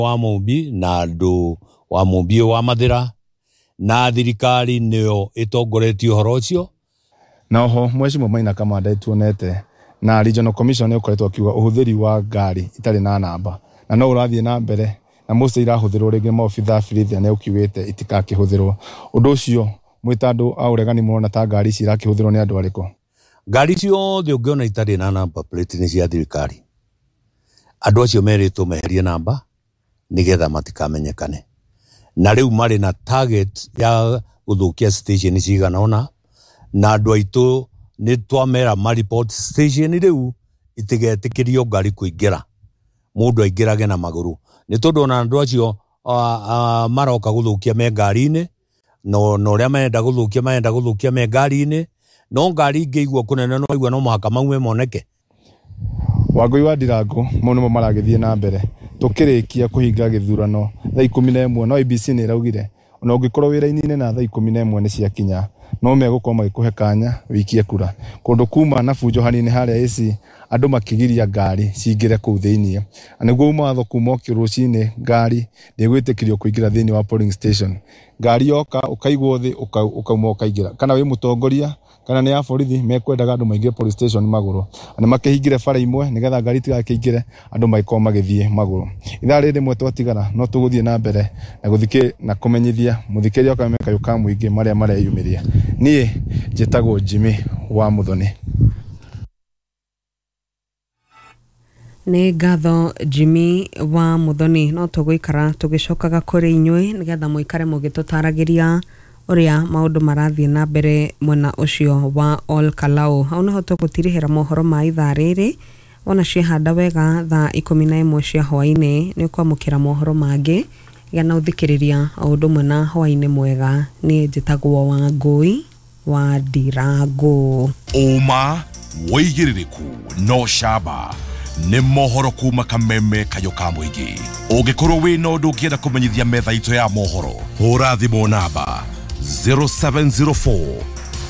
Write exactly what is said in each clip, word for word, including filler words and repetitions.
Wa Mumbi na andũ wa Mumbi wa Mathĩra na thirikari nĩyo ĩtongoretie ũhoro ũcio. Na oho mwecimwa Maina Kamanda tuonete na Regional Commission nĩ ũkoretwo akiuga ũhũthĩri wa ngari itarĩ na namba na no ũrathiĩ na mbere na mostly irahũthĩrwo rĩngĩ maobitha a birithi nĩ ũkiugĩte itikakĩhũthĩrwo. Ũndũ ũcio mwĩ ta andũ a ũregani mũrona ta ngari ici irakĩhũthĩrwo nĩ andũ arĩkũ? Ngari ciothe ũngĩona itarĩ na number plate nĩ cia thirikari. Andũ acio merĩtwo meherie namba nĩgetha matikamenyekane. Na rĩu marĩ na target ya gũthũkia station cigana ũna, na andũ aitũ nĩ twamera ma report station rĩu itigetĩkĩrio ngari kũingĩra, mũndũ aingĩrage na magũrũ, nĩ tondũ ona andũ acio uh, uh, maroka gũthũkia me ngari-inĩ, no na ũrĩa marenda gũthũkia marenda gũthũkia me ngari-inĩ, no ngari ingĩigua kũnene no igua no mũhaka maume moneke. Wangũi wa Ndirango mau nĩmo maragĩthiĩ na mbere tũkĩrĩkia kũhinga gĩthurano thaa ikũmi na ĩmwe, no I E B C nĩ ĩraugire ona ũngĩkorwo wĩra-inĩ na thaa ikũmi na ĩmwe nĩ ciakinya no megũkorwo magĩkũhe kanya wĩikie kura. Kũndũ kuma na bunjo hanini harĩa A C andũ makĩgiria ngari cingĩre kũu thĩiniĩ, na nĩguo uma watho kuma okĩ rũcinĩ ngari ndĩgwĩtĩkĩrio kũingĩra thĩiniĩ wa polling station. Ngari yoka ũkaigwo thĩ ũkauma ũkaingĩra, kana wĩ mũtongoria kana nĩ ya borithi mekwendaga andũ maingĩre police station magũrũ, na makĩhingire bara imwe nĩgetha ngari itigakĩingĩre andũ magĩkorwo magĩthiĩ magũrũ. Ithaa rĩrĩ rĩmwe twatigara no tũgũthiĩ na mbere na gũthikĩ na kũmenyithia mũthikĩria wa Kameme Kayũ ka Mũingĩ marĩa mareyumĩria. Niĩ njĩtagwo Jimmy wa Muthoni. Nĩ ngatho Jimmy wa Muthoni. No tũgũikara tũgĩcokaga kũrĩ inyuĩ nĩgetha mũikare mũgĩtũtaragĩria ũrĩa maũndũ marathiĩ na mbere mwena ũcio wa Ol Kalou. Hau nĩho tũgũtirihĩra mohoro ma ithaa rĩrĩ. Wona ciehanda wega thaa ikũmi na ĩmwe cia hwaĩ-inĩ nĩ ũkwamũkĩra mohoro mangĩ. Gĩa na ũthikĩrĩria o ũndũ ũmwe na hwaĩ-inĩ mwega. Niĩ njĩtagwo Wangũi wa Ndirango. Ũma wĩigĩrĩrĩku no camba nĩ mohoro kuma Kameme Kayũ ka Mũingĩ. Ũngĩkorwo wĩna ũndũ ũngĩenda kũmenyithia metha itũ ya mohoro, hũra thimũ namba zero seven zero four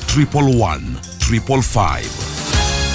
triple one triple five.